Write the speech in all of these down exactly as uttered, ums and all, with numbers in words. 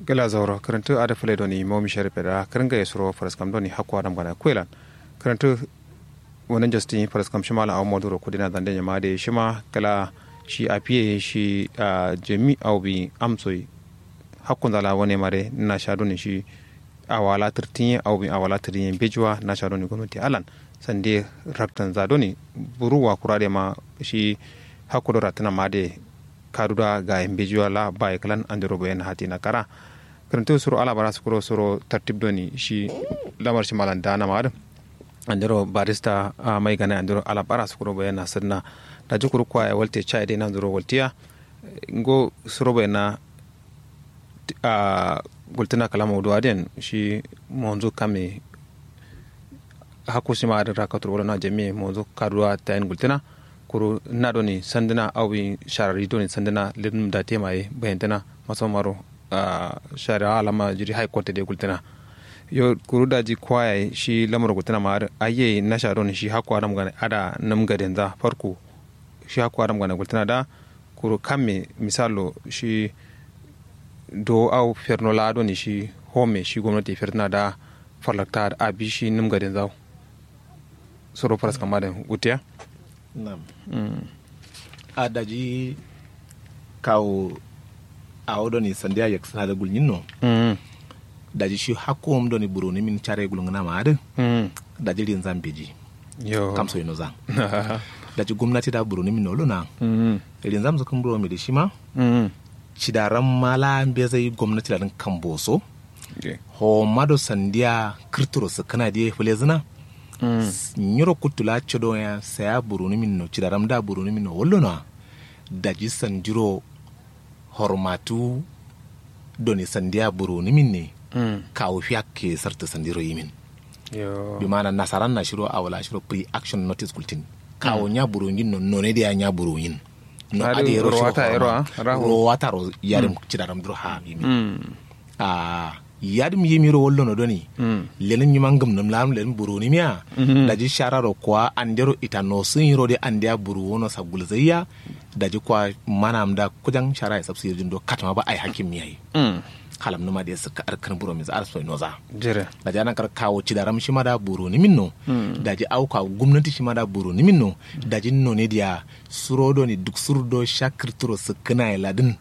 Kǝla zauro kǝrǝntǝ adǝ fǝle doni momi sharif ye da kǝrǝngaye suro faraskam doni hakku adam gana kuwe lan. Kǝrǝntǝ wani njasti faraskam shima lan awo moduro kudina zande nyama adǝ ye shima kǝla shi afiye shi jami awo bi amso ye. Hakkunza la wane mare nasha doni shi awala tǝrtin ye awo bi awala tǝrtin ye mbeji wa nasha doni gomnati allan sande raktanza doni buru wa kura de ma shi hakku do rattǝna ma adǝ ye. Kadu da gaye mbeji wa la baye kǝlan andero bayen hatina kara. Kǝrǝntǝ suro ala bara sukuro suro tartib doni shi lamar shima lan dana ma adǝ andero barista mai gana andero ala bara sukuro bayen na sǝdǝna. Daji kuru kwaye walte caye de nandero waltiya. Ngo suro bayen na gultǝna kǝla maudu adǝ yen shi monzu kame hakku shima adǝ rakaturo wala na jamiye monzu kaduwa tayin gultǝna. Kuru na doni sandǝna awi sharari doni sandǝna lirnum date maye bayantǝna maso maro. Shari'a alama jiri high court de gultǝna. Yo kuru daji kwaye shi lamaro gultǝna ma adǝ ayye nasha doni shi hakku adam gane ada num gadenza farko. Shi hakku adam gane gultǝna da kuru kamme misalo shi do au ferno la doni shi home shi gomnati fertǝna da farlakta abi shi num gadenza. Suro faraskam adǝ gultiya. Nam. A daji kawo awo doni sandiya yaksǝna da gulnyinno. Daji shi hakkuwum doni buronimin care gulngǝna ma adǝ. Daji rinzan beji. Yo kamso yino zan. Daji gomnati da buronimin no lona. Rinzan sǝkǝm buromi dǝ shima. Cidaram ma la mbezai gomnati da dǝn kamboso. Homa do sandiya kǝrturo sǝkkǝna diye fǝlezǝna. Nyiro kuttu la codo ya saya burunimin no cidaram da burunimin no wallo no. Daji sandiro hormatu doni sandiya burunimin ne. Kawu fiyakke sartǝ sandiro yimin. Bi mana nasaran na shiro awo la shiro pre action notice gultin. Kawo nya burungin no none diya nya burungin. No ade yero shiro horma rowata ro yarim cidaram duro ha yimin. Ahh yadǝm yimiro wallono doni. Lenǝm nyima ngǝmnǝm lanǝm lenǝm burunǝmiya. Daji shararo kuwa andero ita nosǝnyiro de andeya buruwono sagulzaiya. Daji kuwa manamda kujan sharaye sabsǝ yirjin do katǝma ba ai hakkim yayi. Halamnǝma de sǝkkǝ arkǝn burominzǝ arsoi noza. Daji anankar kawo cidaram shima da burunǝminno. Daji au kawo gumnati shima da burunǝminno. Daji none diya suro doni duksur do sha kǝrturo sǝkkǝnaye ladǝn.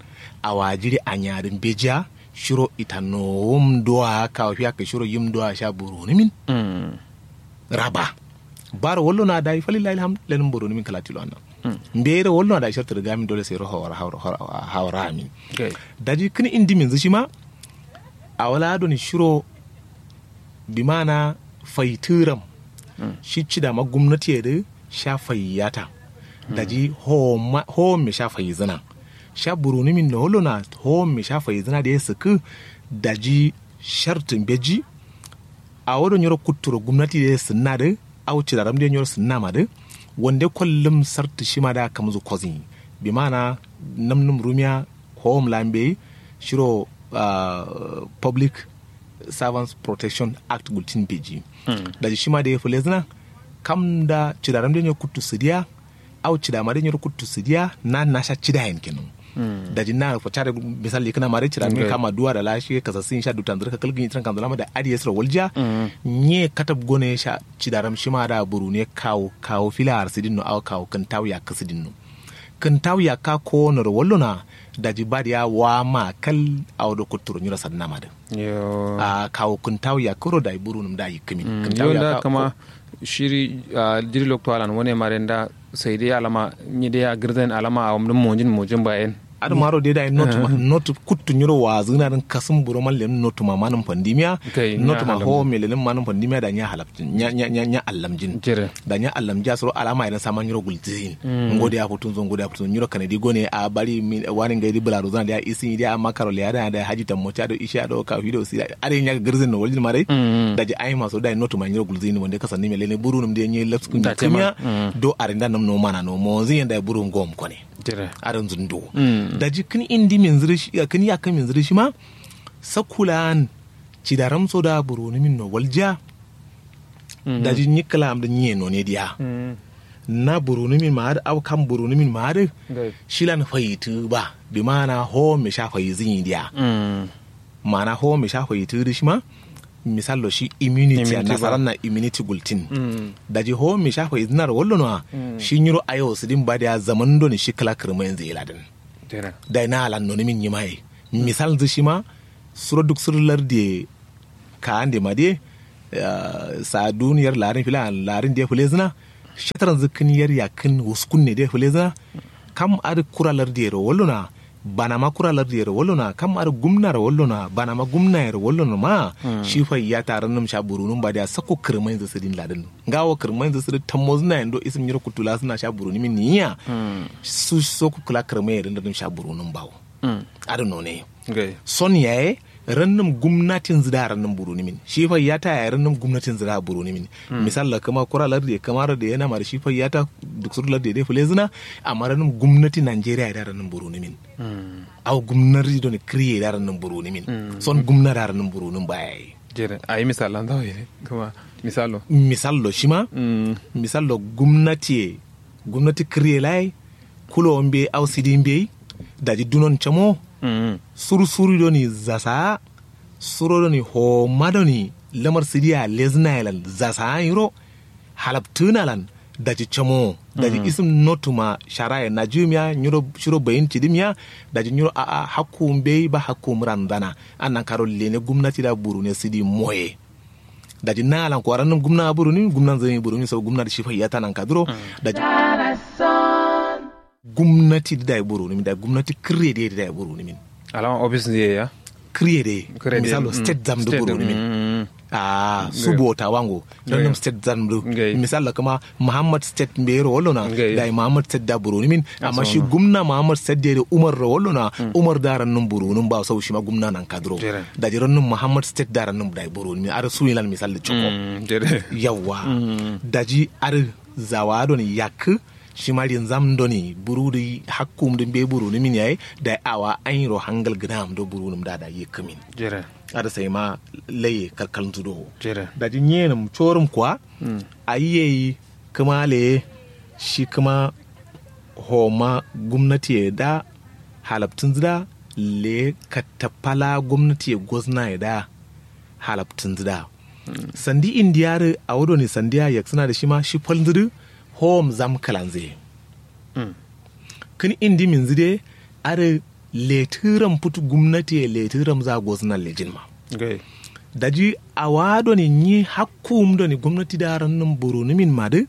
Awa jiri anyadǝ mbejiya. Shiro ita nowum duwa kawo fiyakkǝ shiro yim duwa sha burunǝmin. Raba baro wallo na dayi falillahi alhamdu lenǝm burunǝmin kǝla tilo anna. Mbeyiro wallo na dayi shartǝ dǝ gamin dole sairo hawara hawara hawara amin. Daji kǝn indiminzǝ shima. Awo la doni shiro bimana faitǝram. Shi cidama gumnatiye dǝ sha faiyata. Daji howom me sha faizǝna. Sha burunǝmin no wallo na howom me sha faizǝna dǝ ye sǝkkǝ. Daji shartǝ mbeji. Awo do nyiro kutturo gumnati dǝ sǝnna dǝ. Au cidaram dǝ nyiro sǝnna ma dǝ. Wande kollum sartǝ shima da kamzǝ kozǝnyi. Bimana namnum rumiya howom la mbeyi. Shiro public servants protection act gultin beji. Daji shima dǝ ye fǝlezǝna. Kam da cidaram dǝ nyiro kuttu sǝdiya. Au cidama dǝ nyiro kuttu sǝdiya na nasha cidayen kenan. Daji na fo care misal yikǝna ma dǝ cidaram kama duwa da la shi kasasǝn sha dutanzǝ dǝ kakal gǝnyi tǝran kanzǝ lama da adǝ ye sǝro waljiya. Nye katab gone sha cidaram shima da burune kawo kawo fila arsǝdin no au kawo kǝntawu yakkǝ sǝdin no. Kǝntawu yakka kowono do wallo na. Daji badiya wa ma kal. Awo do kutturo nyiro sadǝna ma dǝ. Ahh kawo kǝntawu yakkǝ ro dayi burunǝm da yikkǝmin kǝntawu yakka kama. Shiri ahh jiri lokto alan wane mare nda sai dai alama nyi dai ya gǝrzain alama awam dǝn monjin monjin bayen. Adǝ maro dai dayi not ma not kuttu nyiro wazǝna dǝn kasǝm buro man lenǝm not ma manǝm fandimiya. Not ma howom me lenǝm manǝm fandimiya da nya halabjin nya nya nya allamjin. Da nya allamjiya suro alama ye dǝn sama nyiro gulzǝyin. Ngo dai ya futunzo ngo dai ya futunzo nyiro kanadi gone a bari. Wani ngai dǝ bǝla rozana dai ya isǝnyi dai ya amma karo leya dana dai haji tammoci ado ishe ado kafido sida. Adǝ nya gǝrzǝn no waljin ma dai. Daji aima suro dayi not ma nyiro gulzǝyin wande kasandimiya lene burunǝm dai nyi lapskǝ nyi kǝmiya. Do arinda nam no mana no monzǝ yen dayi burunǝm gom kone. Adǝ nzǝndo. Daji kǝn indi minzǝ dǝ shi kǝn yakkǝ minzǝ dǝ shima. Sakkulan cidaram so da burunǝmin no waljiya. Daji nyi kǝlam dǝ nyi ye none diya. Na burunǝmin ma adǝ au kam burunǝmin ma adǝ. Shilan fayitǝ ba bimana howom me sha fayizǝnyi diya. Ma'ana home sha faitǝ dǝ shima. Misallo shi immunity a nasaran na immunity gultin. Daji home sha faitǝ na ro wallo no a. Shi nyiro ayo sǝdin ba diya zaman do ni shi kǝla kǝrma yanzu ila dǝn. Dai na alan nonimin nyima ye. Misal dǝ shima. Suro duk suro lardi ye. Ka ande ma diye. Sadun yar larin fila larin diye fule zǝna. Shataran zǝ kǝn yar yakkǝn wuskun ne diye fule zǝna. Kam adǝ kura lardiyero wallo na. Banama kura lardiyero wallo na kam adǝ gumnaro wallo na banama gumnayero wallo na ma. Shi faiyata rannum sha burunum ba diya sakko kǝrmainzǝ sǝdin ladǝn. Ngawo kǝrmainzǝ sǝdǝ tammozǝna yendo isǝm nyiro kuttula sǝna sha burunimin niya. Su sokko kǝla kǝrmainzǝ dǝn rannum sha burunum bawo. Adǝ none. Son yaye. Rannum gumnatinzǝ da rannum burunimin shi faiyata yaye rannum gumnatinzǝ da burunimin. Misal la kǝma kura lardiye kǝma lardiye namar shi faiyata. Duk suru lardiye dai fǝlezǝna. Amma rannum gumnati najeriya ye da rannum burunimin. Au gumnati done kǝriye da rannum burunimin. Son gumna da rannum burunum ba yaye. Jere ayi misal lan zawo ye kǝma. Misal lo misal lo shima. Misal lo gumnati ye. Gumnati kǝriye laye. Kulo mbeyi au sidi mbeyi. Daji dunon camo. Suru suru doni zasaa. Suro doni homa doni lamar sidiya lezǝna ye lan zasaa nyiro. Halabtǝna lan. Daji camo daji isǝm notuma shara ye najiwum ya nyiro shiro bayin cidǝm ya. Daji nyiro a'a hakku mbeyi ba hakku murandana. Annan karo lene gumnati da burune sidi moye. Daji na lan ko arannum gumna burunimin gumna nzǝmi burunimin sau gumna da shi faiyata nan kaduro. Daji gumnati dǝ dayi burunimin dayi gumnati kǝrye dǝ ye dǝ dayi burunimin. Alama office nzǝ ye ya. Kǝrye dǝ ye. Misalo state zam dǝ burunimin. Ahh su bota wango. Rannum state zam dǝ. Misalo kǝma muhammad state mbeyero wallo na. Dayi muhammad state da burunimin. Amma shi gumna muhammad state dǝ ye dǝ umar ro wallo na. Umar da rannum burunum ba sau shima gumna nan kaduro. Daji rannum muhammad state da rannum dayi burunimin adǝ suwilan misal dǝ coko. Yawwa. Daji adǝ zawa doni yakkǝ. Shima rinzam doni buru dǝ hakkum dǝ mbe buru nǝmin yayi. Dayi awa anyiro hangal gǝnam do buru nǝm da dayi yikkumin. Adǝ sai ma laye kalkal nzudo. Daji nyenǝm corum kwa. Ayi yayi kǝma leye. Shi kǝma homa gumnati ye da halabtǝnzǝ da leye kattapala gumnati ye gozna ye da. Halabtǝnzǝ da sandi indiya dǝ awo done sandiya yaksǝna dǝ shima shi falnzǝ dǝ. Howom zam kǝlanzǝ ye. Kǝn indi minzǝ dǝ ye adǝ letǝram futu gumnati ye letǝram za gozǝna lejin ma. Daji awa done nyi hakkuwum done gumnati da rannǝm burunǝmin ma dǝ.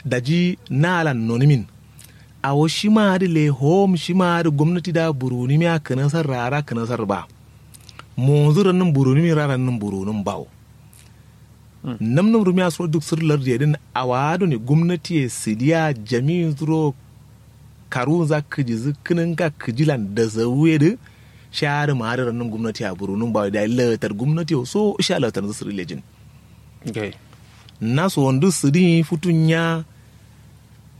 Daji na lan nonǝmin. Awo shima adǝ le howom shima adǝ gumnati da burunǝmiya kǝnasar rara kǝnasar ba. Monzǝ rannǝm burunǝmin ra rannǝm burunǝm bawo. Namnum rumiya suro duk sǝr lardǝ ye dǝn awa done gumnati ye sǝdiya jami'in suro. Karuwunza kǝjizǝ kǝnǝnga kǝjilan dazawu ye dǝ. Sha adǝ ma adǝ rannǝm gumnati ya burunǝm bawo dayi latar gumnati ye so sha latar nzǝ sǝri lejin. Na sowondu sǝdin yi futu nya.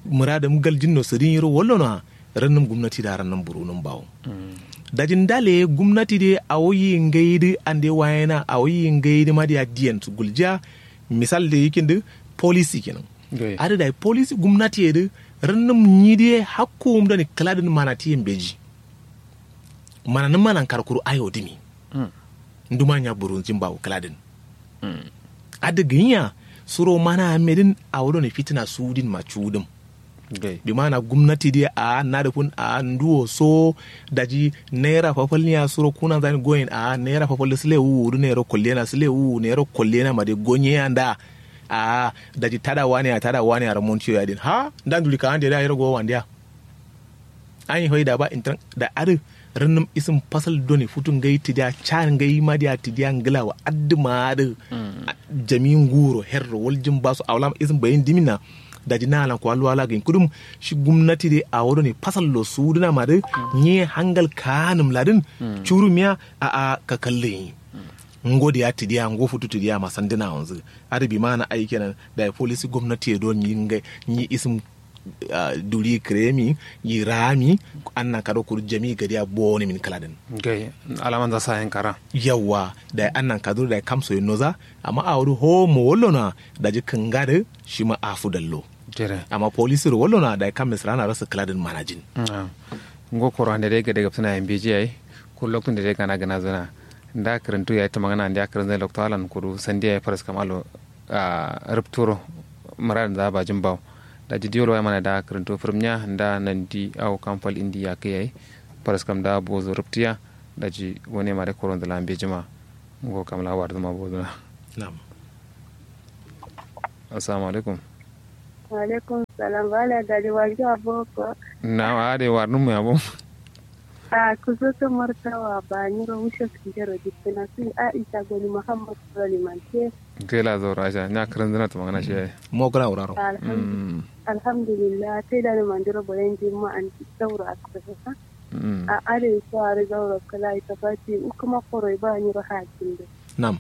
Mǝradǝm galjin no sǝdin yiro wallo noa. Rannǝm gumnati da rannǝm burunǝm bawo. Daji ndale gumnati dǝ ye awo yi ngai dǝ ande wayena awo yi ngai dǝ ma diya diyen su guljiya. Misal dǝ yikin dǝ polisi kenan. Adǝ dayi polisi gumnati ye dǝ rannǝm nyi dǝ ye hakkuwum done kǝladǝn manati ye mbeji. Mananǝm manan karkuru ayo dǝmi. Nduma nya burunjin bawo kǝladǝn. Adǝ gǝnyi ya suro mana amme dǝn awo done fitina sudin ma cudǝm. Bi mana gumnati dǝ ye a'a nadǝ fun a'a nduwo so. Daji naira fafal niya suro kunanza dǝn goyen a'a naira fafal dǝ sǝle wuwu dǝ nairo kollena sǝle wuwu nairo kollena ma dǝ gonye ya nda. A'a daji tada wane ya tada wane ya ramontiyo ya dǝn ha nda nduli ka'ande dǝ ya yiro gowo wandiya. Anyi faida ba intaran da adǝ rannǝm isǝm fasal done futu ngai tǝdiya ca ngai ma diya tǝdiya ngǝla wa adǝ ma adǝ. Jami nguro herro waljin baso awo lama isǝm bayin dǝmin na. Daji na lan kwa luwa la gǝnyi kudum. Shi gumnati dǝ awo done fasallo sudǝna ma dǝ. Nyi ye hangal kaanǝm ladǝn. Curumiya a'a kakallin yi. Ngo diya tǝdiya ngo futu tǝdiya ma sandǝna wonzǝ. Adǝ bi mana ayi kenan. Dayi polisi gumnati ye do nyi ngai nyi isǝm. Duri kǝremi yi rami. Annan kado kuru jami gadiya bowoni min kǝladǝn. Alamanza sayen kara. Yawwa dayi annan kaduro dayi kamso ye noza. Amma awo dǝ howo mo wallo noa. Daji kǝnga dǝ shima afu dallo. Amma polisiro wallo noa dayi kamme sǝrana rasa kǝladǝn manajin. Ngo koro ande dai gade gabsǝna ye mbeji yayi. Kuru loktu nde dai gana gǝnazǝna. Nda kǝrǝntu yayi tǝmangana nda kǝrǝnzai loktu alan kudu sandi yayi faraskam alo. Rǝpturo mǝradǝnza bajin bawo. Daji diwol wayi mana da kǝrǝntu fǝrǝmnya nda nandi awo kam fal indi yakkǝ yayi. Faraskam da bozu rǝptiya. Daji wane mare koronzǝ la mbejima. Ngo kam la warzǝma bozuna. Assalamu alaikum. Wa alaikum salam. Bala gari wanjo aboko. Na ade warnum ya bo. A kusoto martawa ba nyiro wushe kinjero dikkina si aisha goni muhammad sura limante. Gela zoro aisha nya kiran zina to magana shi yayi. Mo kala wuraro. Alhamdulillah sai da ni mandiro bolen jimma an sauro a kusa. A ade so ari zauro kala ita fati ukuma koroi ba nyiro hakin do. Nam.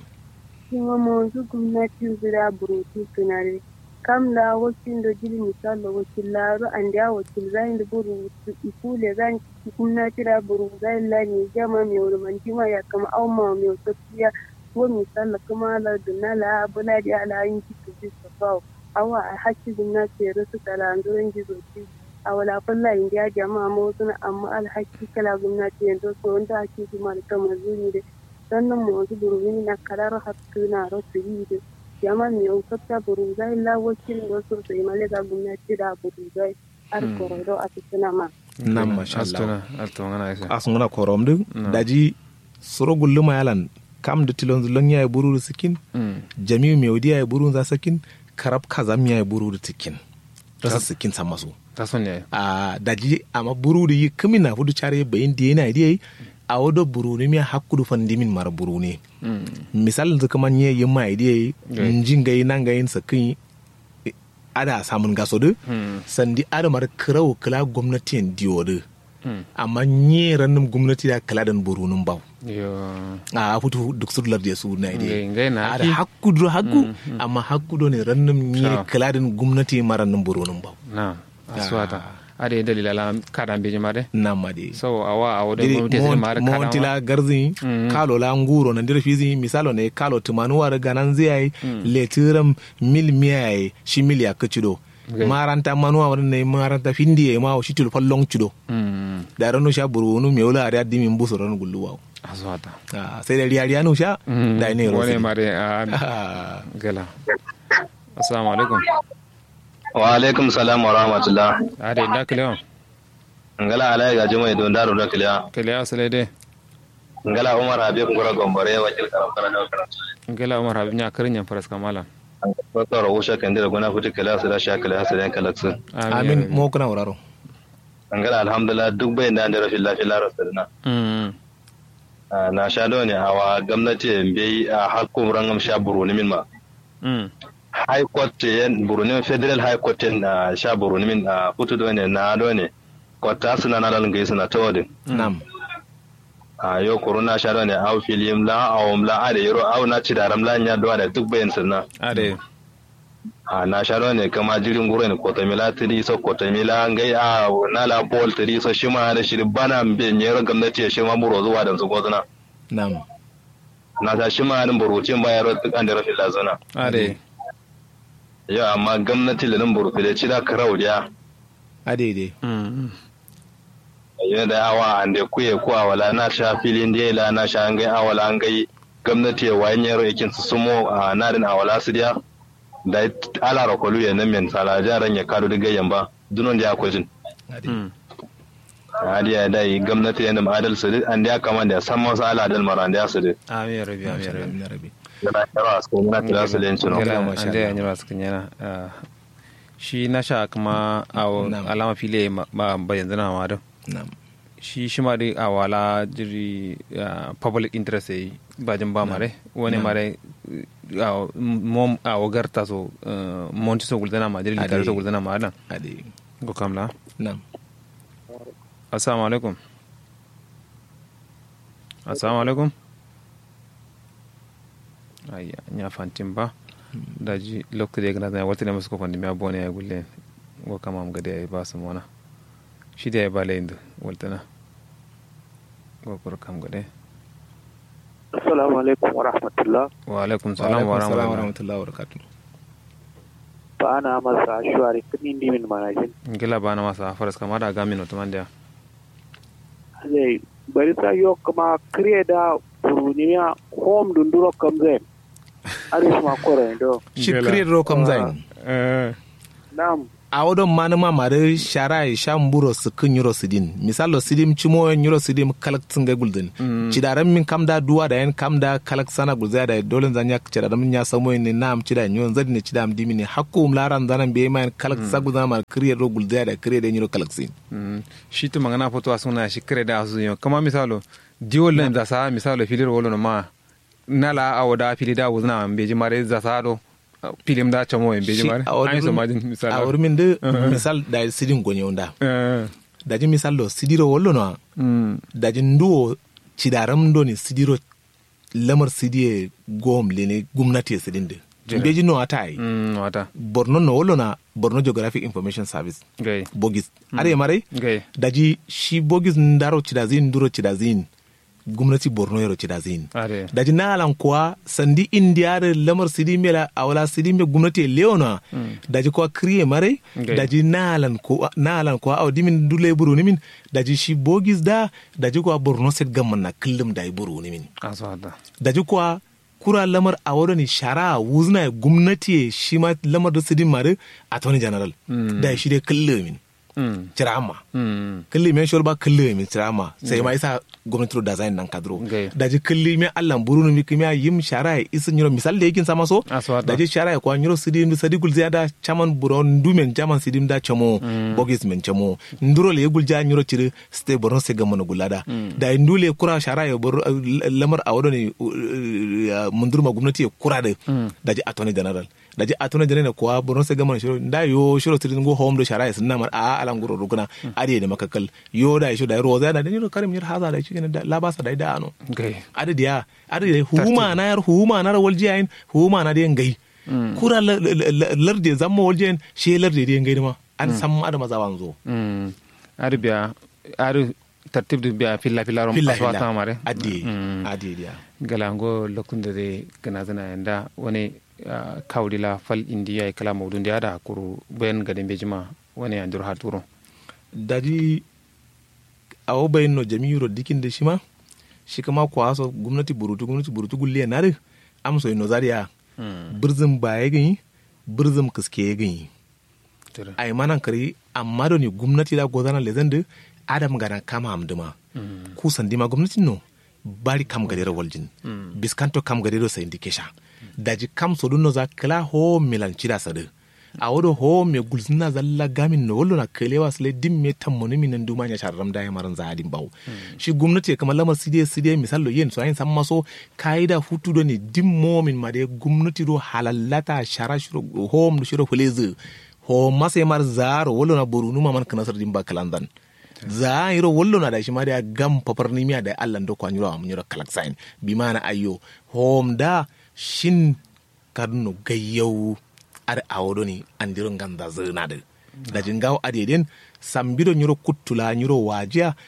Shima monzu gumnati zira burutu tunare. Kam la wakil do jili misal lo wakil laro andiya wakil zain do buru. Iku le zain gumnati da buru zain la ni jama mi wuri man jima ya kama au ma mi wuri sofiya. Wo misal lo kuma la dunna la bula di ala yin ki tuzi sofawo. Awa hakki gumnati ya rusu kala anzurin jizo ci. Awala falla indiya jama mo suna amma alhakki kala gumnati ya ndo so wanda hakki gumnati kama zuni de. Sannan mozu burguni na kalaro hattuna ro siride. Yaman miyon katta buruzai la wakil ro sosai male ga gumnati da buruzai. Ar korodo a fitina ma. Nam mashallah. Astuna astuna ngana isa. Asungana korom du. Daji suro gulluma yalan kam du tilon zulon yayi buru du sikin. Jamiu meudi yayi buru za sikin. Karab kazam yayi buru du sikin. Rasa sikin samasu. Taso ne. A daji amma buru du yi kami na fudu chare bayin diye na diye. Awo do buruni miya hakkudu fandimin mara buruni. Misal nzu kuma nye yimma idiye. Nji ngai na ngai sakin. Ada samun gaso du. Sandi ada mara kirau kila gomnati en diyo du. Amma nye rannum gomnati da kila dan burunun bawo. A futu duk sudular diye su na idiye. Ada hakkudu hakku. Amma hakkudu ne rannum nye kila dan gomnati mara rannum burunun bawo. Na. Aswata. Ade dalila la kada mbeji mare. Namma de. So awa awo de. Mawantila garzi. Kalo la nguro na ndira fizi misalo ne kalo tumanu wari ganan ziyai. Letiram mil miyai shi mil ya kacido. Maranta manuwa wari ne maranta findiye ma shi tulfallon cido. Da ranu sha burunu mewla ari addimin busu ranu gulluwa. Aswata. Sai da riya riya nu sha. Da ne ro wane mare a gala. Assalamu alaikum. Wa alaikum salam wa rahmatullah. Ade nda kilewa. Ngala alai ga jumai don daro da kilewa. Kilewa sale de. Ngala umar habib ngura gombore wakil karam kana da karam. Ngala umar habib nya karin yan faras kamala. Soro usha kandira gona futi kilewa sala sha kilewa sala kalaksu. Amin mo kuna wuraro. Ngala alhamdulillah duk bai nda ndero filla filla rasirna. Na sha done awa gomnati mbeyi a hakku rangam sha buruni min ma. High court yen buruni min federal high court yen sha buruni min. Futu done na done kotta suna na lan gai suna tawadin. Nam. Yo kuru na sha done au filim la awum la ade yiro au na cidaram la nya done duk bayin suna. Ade. A na sha done kama jirin guro ne kotomila tiri so kotomila ngai a na la bol tiri so shima da shiri bana mbe nyero gomnati ya shima buro zuwa dan su gozuna. Nam. Na sha shima da burutin ba yaro duk an da rafin lazuna. Ade. Yo amma gomnati le nan burutu le cida karau diya. Ade de. Yo da awa ande kuye ku awala na sha filin de la na sha ngai awala ngai gomnati ya wayin yaro yakin su sumo a nadin awala su diya. Da ala rokolu ya nan men sala jaran ya kadu diga yamba dunon da ya kojin. Ade. Adi ya dai gomnati ya nam adal sidi ande ya kamande ya samman sa ala adal mara ande ya sidi. Amin ya rabbi amin ya rabbi. Yana kira su kuma na kira su lencin. Ande ya nyira su kunyana. Shi na sha kuma awo alama file ba yanzu na ma duk. Shi shi ma duk awala jiri public interest yayi. Bajin ba mare wani mare. Awo garta so monti so gulzana ma jiri litari so gulzana ma adan. Go kamla. Assalamu alaikum. Assalamu alaikum. Ayya nya fantin ba. Daji loktu de gna zan waltine musko fandi miya bone ya gulle. Ngo kama am gade ya ba su mona. Shi de ya ba le indu waltana. Ngo kuru kam gade. Assalamu alaikum wa rahmatullah. Wa alaikum salam wa rahmatullah wa barakatuh. Ba na masa shuwari kini ndi min manajin. Ngila ba na masa faras kama da gamin otoman da. Bari sa yo kuma kire da burunimiya hom dunduro kamzain. Adǝ shima koro indo. Shi kǝriyedǝ ro kamzain. Nam. Awo don manǝma madǝ sharaye sha mburo sǝkkǝ nyiro sǝdin misallo sǝdim cimoyen nyiro sǝdim kalaksǝ ngai gulzǝn. Cidaram min kam da duwa dayen kam da kalaksana gulzaya daye dolen zanya cidaram nya samoyen ne nam cida nyiro nzadin ne cidam dimin ne hakku wum laran zanan beye mayen kalaksa gulzana madǝ kǝriyedǝ ro gulzaya daye kǝriyedǝ nyiro kalaksǝ. Shi tǝmangana foto asǝngǝna shi kǝriyedǝ asuzǝ yo kǝma misalo diwollen zasa misalo filiro wolono ma. Nala awo da fili da wuzǝna mbeji mare zasa do. Filim da camo ye mbeji mare. Awo rumin dǝ misal dayi sidin gonye wunda. Daji misal do sidiro wallo nowa. Daji nduwo cidaram doni sidiro lamar sidiye gom lene gumnati ye sidin dǝ. Mbeji no ata ye. Borno no wallo na borno geographic information service. Bogis. Are marai. Daji shi bogis ndaro cidazin nduro cidazin. Gumnati borno yero cidazin. Daji nalan kuwa sandi indiya dǝ lamar sidimbe la awala sidimbe gumnati ye lewonowa. Daji kuwa kǝriye marai. Daji nalan kuwa awo dimin dule burunimin. Daji shi bogis da. Daji kuwa borno state gamman na kǝllum dayi burunimin. Daji kuwa kura lamar awo doni shara wuzǝna ye gumnati ye shima lamar dǝ sidin ma dǝ. Attorney general. Dayi shi dai kǝllumin. Cira amma. Kǝlli men shol ba kǝlli men cira amma sai ma isa gomnati ro dazain nan kadro. Daji kǝlli men allan burunu mi kimiya yim shara ye isu nyiro misal da yakin sama so. Daji shara ye kwa nyiro sidi mi sadi gulzi ada chaman buro ndu men chaman sidi da chamo. Bogis men chamo. Nduro le gulja nyiro ciri state borno state gamma gulada. Daji ndu le kura shara ye lamar awodo ne. Mundur ma gomnati ye kura de. Daji attorney general. Daji attorney general ne kuwa borno state gamma shiro nda yo shiro sidi ngo home do shara ye sinna mar a ala nguro ruguna. Adi ye de makakkal. Yo dayi sho dayi roza dayi nyiro karim nyiro haza dayi shikenan labasa dayi da ano. Adi diya. Adi diya huma na yar huma na rawal jiyayin. Huma na diya ngai. Kura larde zamma wal jiyayin. She larde diya ngai dima. An samma adama zawanzo. Adi biya. Adi tartib dǝ biya filla filla rom. Filla filla. Addiye. Addiye diya. Gala ngo lokun dǝ dai gǝnazǝna yanda wani. Kawudi la fal indi yayi kǝla maudu ndiya da kuru bayan gade mbejima. Wani yandiro haturo. Daji awo bayin no jami'iro dikin dǝ shima. Shi kǝma kuwa so gumnati burutu gumnati burutu gulliye nadǝ. Amso ye noza diya. Bǝrzǝm baye gǝnyi. Bǝrzǝm kǝske ye gǝnyi. Aima nankari amma doni gumnati da gozana lezan dǝ. Adam gana kama am dǝma. Ku sandima gumnatin no. Bari kam gadero waljin. Biskanto kam gadero sayindi kesha. Daji kam sodunno za kǝla howo milan cida sadǝ. Awo do howo me gulzǝna zalla gamin no wallo na kǝlewa sǝle dimme tammonumin nan duma nya sharram daye maran za adin bawo. Shi gumnati ye kǝma lamar sidiye sidiye misallo yen so ayin samma so. Kayi da futu doni dimmo min ma de gumnati do halallata shara shiro howom do shiro fǝlezǝ. Howom ma sai mar zaaro wallo na borunu ma man kǝnasar dimba kǝlanzan. Zaa nyiro wallo na da shima da gam fafarnimiya da allah ndo kwa nyiro amu nyiro kalaksayin. Bimana ayyo. Howom da shin. Kadunno gayyawu. Adǝ awo doni andiro nganza zǝna dǝ. Daji ngawo adǝ ye den. Sambido nyiro kuttu la nyiro wajiya.